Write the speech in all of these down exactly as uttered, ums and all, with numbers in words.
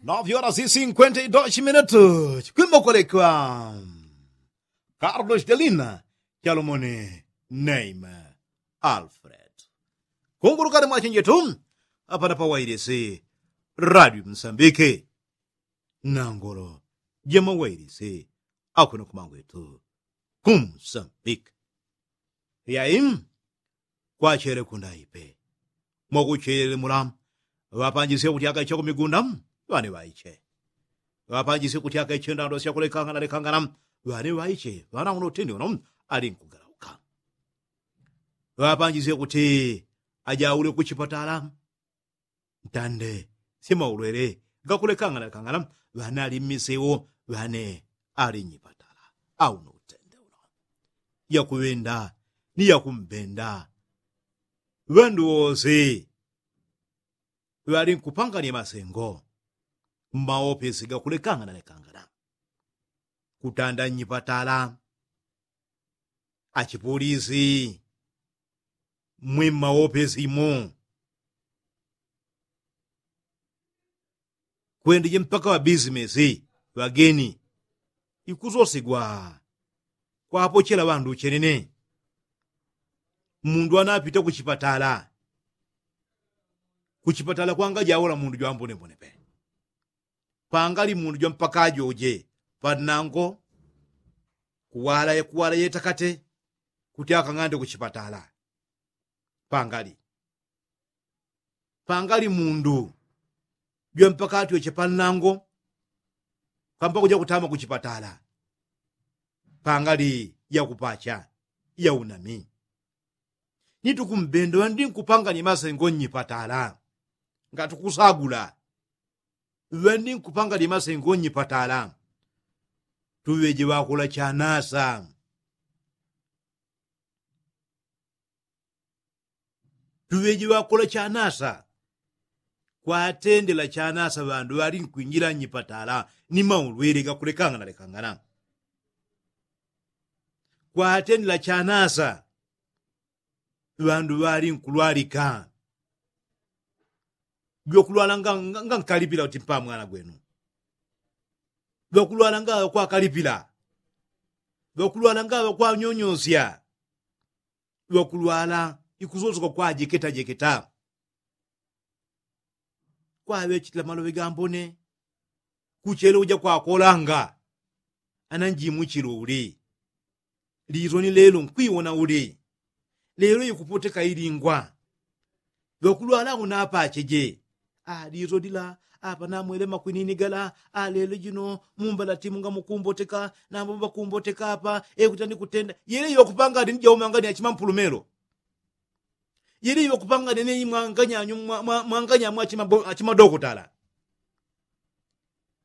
Nove horas e cinquenta e dois minutos kwimba kwalekwa. Carlos delina, chalomone, neima, alfred. Kungulukani mwachenjetu apana pawailisi, radio msambike, nangolo jamawailisi, akwena kumangwetu, kumsambike. Yai, kwachele kundaipe, mwakuchele mula. Ŵapanjisye kuti akaiche kumigunda, ŵane ŵaiche. Ŵapanjisye kuti akaiche ndando syakulekangana lekangana, ŵane ŵaiche. Ŵana uno utende uno, alinkugalauka. Ŵapanjisye kuti ajaule kuchipatala, ntande sye maulwele gakulekangana lekangana, ŵane ali mmisewo, ŵane ali nyipatala. Auno utende uno, yakuŵenda ni yakumbenda. Ŵandu wose ŵalinkupangania masengo, mmaopesi gakulekangana lekangana, kutanda nyipatala, achipulisi, mwimmaopesi imo, kwendije mpaka ŵabisimesi, ŵageni, ikusosegwa kwapochela ŵandu uchenene. Mundu anapita kuchipatala, kuchipatala kwangajaula mundu jwambonebone pe. Pangali mundu jwampaka ajoje panango, kuwala kuwala yetakate, kuti akang'ande kuchipatala. Pangali pangali mundu jwampaka atyoche panango, kampa kuja kutama kuchipatala. Pangali yakupacha yaunami, nitukumbenda ŵandi nkupangania masengo nnyipatala. Ngatukusagula ŵandi nkupangania masengo nnyipatala, tuŵeje ŵakola chanasa. Tuŵeje ŵakola chanasa, kwatendela chanasa ŵandu ŵalinkwinjila nnyipatala ni maulwele gakulekangana lekangana. Kwatendela chanasa ŵandu ŵalinkulwalika. Jwakulwala ngankalipila uti mpamwana gwenu. Jwakulwala ngaŵa kwakalipila. Jwakulwala ngaŵa kwanyonyosya. Jwakulwala ikusosoka kwajeketajeketa. Kwaŵechitila maloŵe gambone. Kuchele uja kwakolanga ana njimuchilo uli. Lilo ni lelo nkwiwona uli. Lelo ikupoteka ilingwa. Ŵakulwala unapacheje. Lilo lila apa namwele makwinini gala. Lelo jino mumbalati munga mukumboteka nambo ŵakumboteka apa. Ekuti anikutenda yele iŵakupanga ati nijaumangania chimampulumelo. Yele iŵakupanga nene imwanganyanyu mwanganyamu achimadokotala.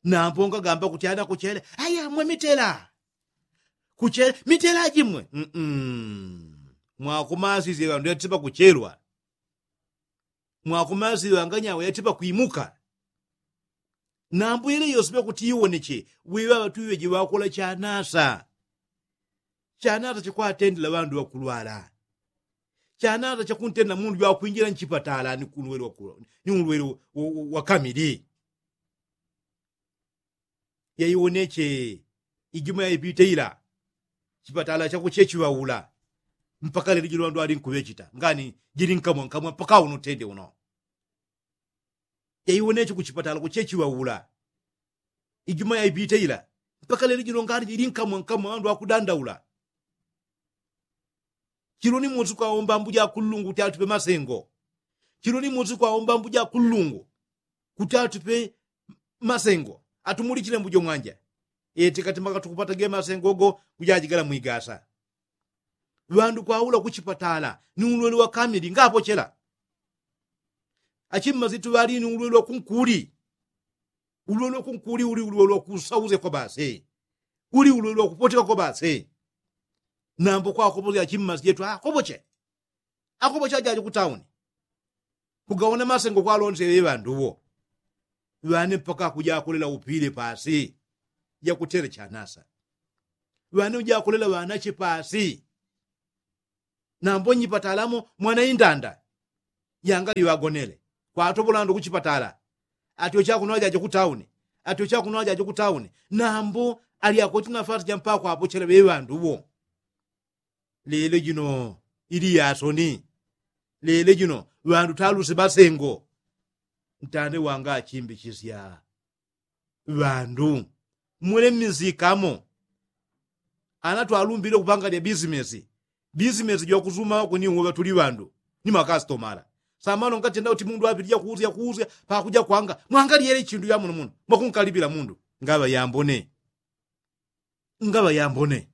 Nambo ngagamba kuti ana kuchele aya mwe mitela. Kuchele mitela jimwe. Mwakumasisye ŵandu yatipa kuchelwa. Mwakumasisye ŵanganyamu yatipa kwimuka. Nambo yele yose ŵakuti iwoneche. Wiŵaŵa tuŵeje ŵakola chanasa. Chanasa chakwatendela ŵandu ŵakulwala. Chanasa chakuntendela mundu jwakwinjila nchipatala ni ulwele wakamili. Yaiwoneche ijuma yaipite ila. Chipatala chakuchechiŵaula mpaka lelo jilo ŵandu ŵalinkuŵechita ngani jili nkamwa nkamwa mpaka uno utende uno. Yaiwoneche kuchipatala kuchechiŵaula ijuma yaipite ila mpaka lelo jilo ngani jili nkamwa nkamwa ŵandu ŵakudandaula. Chilo ni musi kwaomba ambuja akullungu kuti atupe masengo. Chilo ni musi kwaomba ambuja akullungu kuti atupe masengo atumulichile mbujo mwanja. Eti kati maka tukupata ge masengo go kujajigala mwigasa. Ŵandu kwaula kuchipatala ni ulwele wakamili ngapochela. Achimmasitu ŵali ni ulwele wakunkuli. Ulwele wakunkuli uli ulwele wakusauze kwa basi. Uli ulwele wakupoteka kwa basi. Nambo kwakopoze achimmasi jetu akopoche. Akopoche ajaje kutauni. Kugaona masengo kwalonse ŵeŵandu wo. Ŵane mpaka kujakolela upile pasi. Jakutele chanasa. Ŵane ujakolela ŵanache pasi. Nambo nyipatalamo mwana indanda yangali ŵagonele kwatopola ŵandu kuchipatala. Ati ochakuno ajaje kutauni. Ati ochakuno ajaje kutauni. Nambo ali akweti nafasi jampakwapochela ŵeŵandu ŵo. Lelo jino ili yasoni. Lelo jino ŵandu taluse ŵasengo. Ntande wanga achimbichisya ŵandu. Mwele mmisikamo. Ana twalumbile kupanga lya bisimesi. Bisimesi jwakusuma kuni uwo ŵatuli ŵandu ni makasitomala. Samano ngatenda kuti mundu apitija kuusya kuusya pakuja kwanga mwangalyele chindu yamuno muno mwakunkalipila mundu. Ngaŵa yambone. Ngaŵa yambone.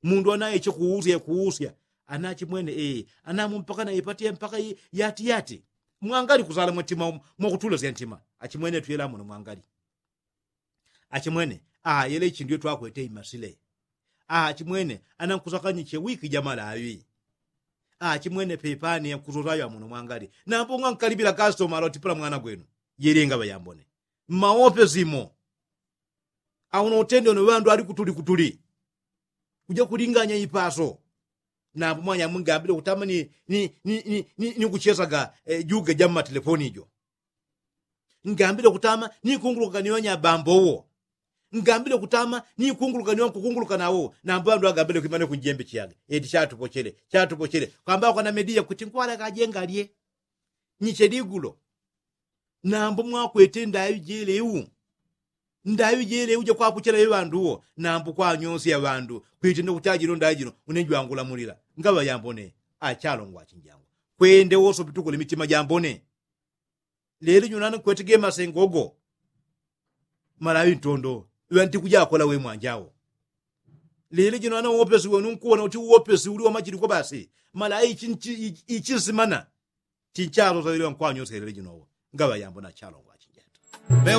Mundu anaye chikuusya kuusya. Ana achimwene ee anamu mpaka naipatiye mpaka yati yati. Mwangali kusala mwatima mwakutulasya ntima. Achimwene tuyela muno mwangali. Achimwene ayele ichi ndiyo twakwete imasile. Achimwene anankusakanyiche wiki jamalawi. Achimwene pepani yankusosayo amuno mwangali nambo ngankalipila kasitoma alotipula mwana gwenu. Yele ngaŵa yambone. Mmaope simo. Auno utende uno ŵandu ali kutuli kutuli. Kuja kulinganya ipaso. Nambo mwanyamwe ngambile kutama ni kuchesaga juga ja mmatelefoni ijo. Ngambile kutama ni kunguluka kani wanyabambo wo. Ngambile kutama ni kunguluka ni wankukunguluka nawo nambo ŵandu agambile kwimane kunjembe chiyage eti chatupochele chatupochele kwamba kwana mediya kuti nkwalaka ajengalye. Nyiche ligulo. Nambo mwakwete ndaŵi jelewu. Ndaŵi jelewu jakwapochela ŵeŵandu wo nambo kwanyosya ŵandu kwitenda kuti ajino ndaŵi jino. Une jwangulamulila ngaŵa yambone. Achalongwa achinjangwa kwende woso pitukule mitima jambone. Lelo jino nani nkwete gemasengo go. Malaŵi ntondo. Ŵantikujakola we mwanjawo. Lelo jino nani uwopesi wenu nkuwona kuti uwopesi uli wamachiliko basi. Malaŵi ichinsimana. Chinchalo saŵile ŵankwanyose lelo jinowo. Ngaŵa yambone achalongwa achinjangwa.